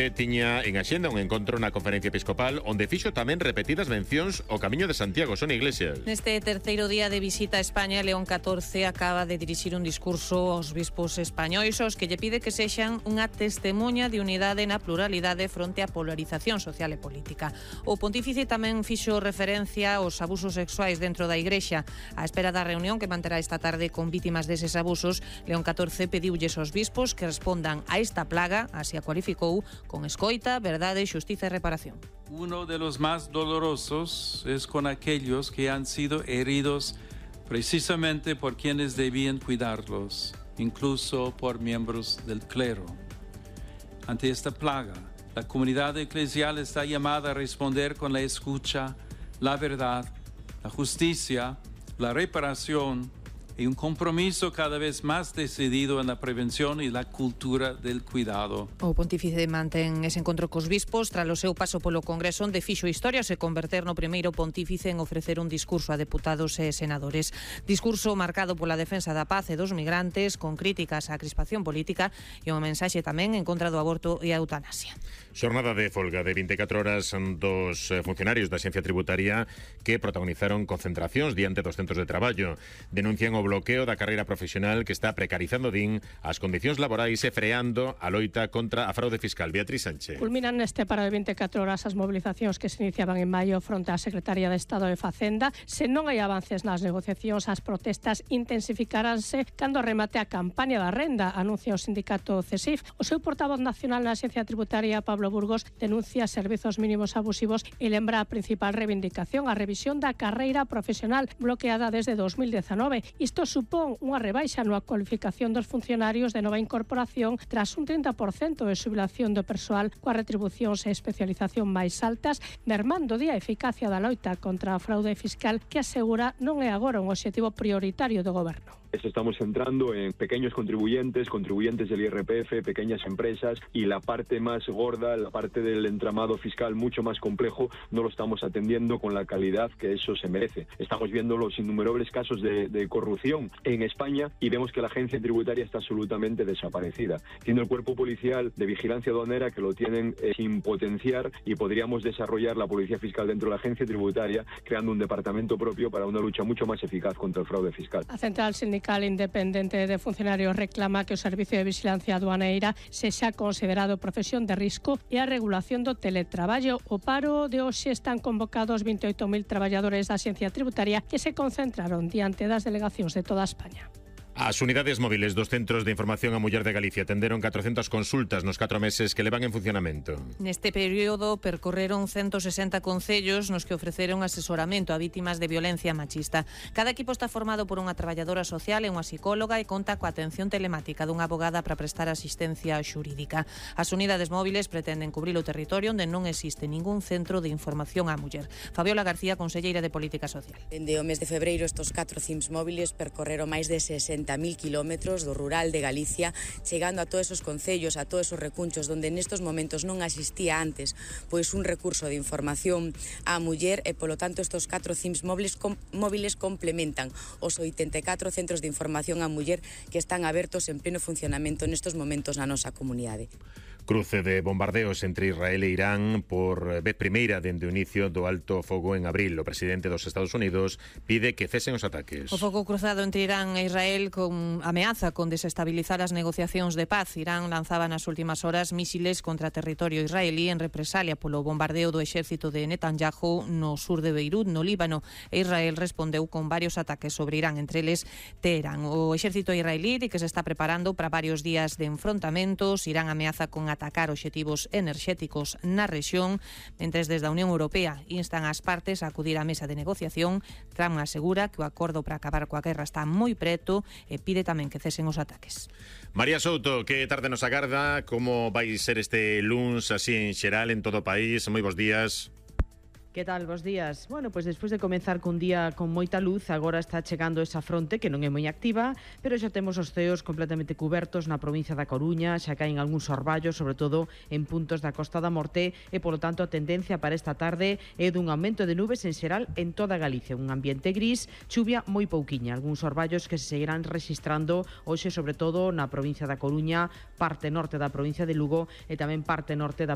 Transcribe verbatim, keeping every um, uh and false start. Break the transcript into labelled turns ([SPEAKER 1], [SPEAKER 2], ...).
[SPEAKER 1] Tiña en axenda un encontro na Conferencia Episcopal onde fixo tamén repetidas mencións ao Camiño de Santiago. Sonia Iglesias.
[SPEAKER 2] Neste terceiro día de visita a España, León catorce acaba de dirixir un discurso aos bispos españois aos que lle pide que sexan unha testemunha de unidade na pluralidade fronte á polarización social e política. O pontífice tamén fixo referencia aos abusos sexuais dentro da Igrexa. A espera da reunión que manterá esta tarde con vítimas deses abusos, León catorce pediulles aos bispos que respondan a esta plaga, así a cualificou, con escoita, verdade, xustiza e reparación.
[SPEAKER 3] Uno de los más dolorosos es con aquellos que han sido heridos precisamente por quienes debían cuidarlos, incluso por miembros del clero. Ante esta plaga, la comunidad eclesial está llamada a responder con la escucha, la verdad, la justicia, la reparación y un compromiso cada vez más decidido en la prevención y la cultura del cuidado.
[SPEAKER 2] O pontífice mantén ese encontro cos bispos tras o seu paso polo Congreso, onde fixo historia se converter no primeiro pontífice en ofrecer un discurso a deputados e senadores. Discurso marcado pola defensa da paz e dos migrantes, con críticas á crispación política e unha mensaxe tamén en contra do aborto e a eutanasia.
[SPEAKER 1] Xornada de folga de vinte e catro horas dos funcionarios da Axencia Tributaria que protagonizaron concentracións diante dos centros de traballo. Denuncian o bloqueo da carreira profesional que está precarizando, din, as condicións laborais e freando a loita contra a fraude fiscal. Beatriz Sánchez.
[SPEAKER 4] Culminan neste paro de vinte e catro horas as mobilizacións que se iniciaban en maio fronte á Secretaría de Estado de Facenda. Se non hai avances nas negociacións, as protestas intensificaránse cando remate a campaña da renda, anuncia o sindicato CESIF. O seu portavoz nacional na Axencia Tributaria, Pablo Burgos, denuncia servizos mínimos abusivos e lembra a principal reivindicación, a revisión da carreira profesional bloqueada desde dos mil dezanove. Isto supón unha rebaixa na cualificación dos funcionarios de nova incorporación tras un trinta por cento de xubilación do persoal coas retribucións e especialización máis altas, mermando a eficacia da loita contra a fraude fiscal que asegura non é agora un obxectivo prioritario do goberno.
[SPEAKER 5] Estamos centrando en pequeños contribuyentes, contribuyentes del I R P F, pequeñas empresas, y la parte más gorda, la parte del entramado fiscal mucho más complejo, no lo estamos atendiendo con la calidad que eso se merece. Estamos viendo los innumerables casos de, de corrupción en España y vemos que la agencia tributaria está absolutamente desaparecida. Tiene el cuerpo policial de vigilancia aduanera que lo tienen eh, sin potenciar, y podríamos desarrollar la policía fiscal dentro de la agencia tributaria, creando un departamento propio para una lucha mucho más eficaz contra el fraude fiscal.
[SPEAKER 4] A Central Sindical Independente de Funcionarios reclama que o Servicio de Vigilancia Aduaneira sexa considerado profesión de risco e a regulación do teletraballo. O paro de hoxe están convocados vinte e oito mil traballadores da Axencia Tributaria que se concentraron diante das delegacións de toda España.
[SPEAKER 1] As unidades móviles dos Centros de Información á Muller de Galicia atenderon catrocentas consultas nos catro meses que levan en funcionamento.
[SPEAKER 2] Neste período percorreron ciento sesenta concellos nos que ofreceron asesoramento a vítimas de violencia machista. Cada equipo está formado por unha traballadora social e unha psicóloga e conta coa atención telemática dunha abogada para prestar asistencia xurídica. As unidades móviles pretenden cubrir o territorio onde non existe ningún centro de información á muller. Fabiola García, conselleira de Política Social.
[SPEAKER 6] Dende o mes de febreiro, estos catro C I M S móviles percorreron máis de sesenta mil kilómetros do rural de Galicia, chegando a todos esos concellos, a todos esos recunchos onde nestos momentos non existía antes pois un recurso de información á muller, e polo tanto estos catro C I M S móviles, com, móviles complementan os oitenta e catro centros de información á muller que están abertos en pleno funcionamento nestos momentos na nosa comunidade.
[SPEAKER 1] Cruce de bombardeos entre Israel e Irán por vez primeira dende o inicio do alto fogo en abril. O presidente dos Estados Unidos pide que cesen os ataques.
[SPEAKER 2] O fogo cruzado entre Irán e Israel con ameaza con desestabilizar as negociacións de paz. Irán lanzaba nas últimas horas mísiles contra territorio israelí en represalia polo bombardeo do exército de Netanyahu no sur de Beirut, no Líbano, e Israel respondeu con varios ataques sobre Irán, entre eles Teherán. O exército israelí di que se está preparando para varios días de enfrontamentos. Irán ameaza con atacar obxectivos enerxéticos na rexión, mentres desde a Unión Europea instan as partes a acudir á mesa de negociación. Trump asegura que o acordo para acabar coa guerra está moi preto e pide tamén que cesen os ataques.
[SPEAKER 1] María Souto, que tarde nos agarda? Como vai ser este luns así en xeral en todo o país? Moi bons días.
[SPEAKER 7] Que tal, bos días? Bueno, pois despois de comenzar cun día con moita luz, agora está chegando esa fronte que non é moi activa, pero xa temos os ceos completamente cubertos na provincia da Coruña, xa caen algúns orballos, sobre todo en puntos da Costa da Morte, e polo tanto a tendencia para esta tarde é dun aumento de nubes en xeral en toda Galicia, un ambiente gris, chuvia moi pouquiña, algúns orballos que se seguirán registrando hoxe, sobre todo na provincia da Coruña, parte norte da provincia de Lugo e tamén parte norte da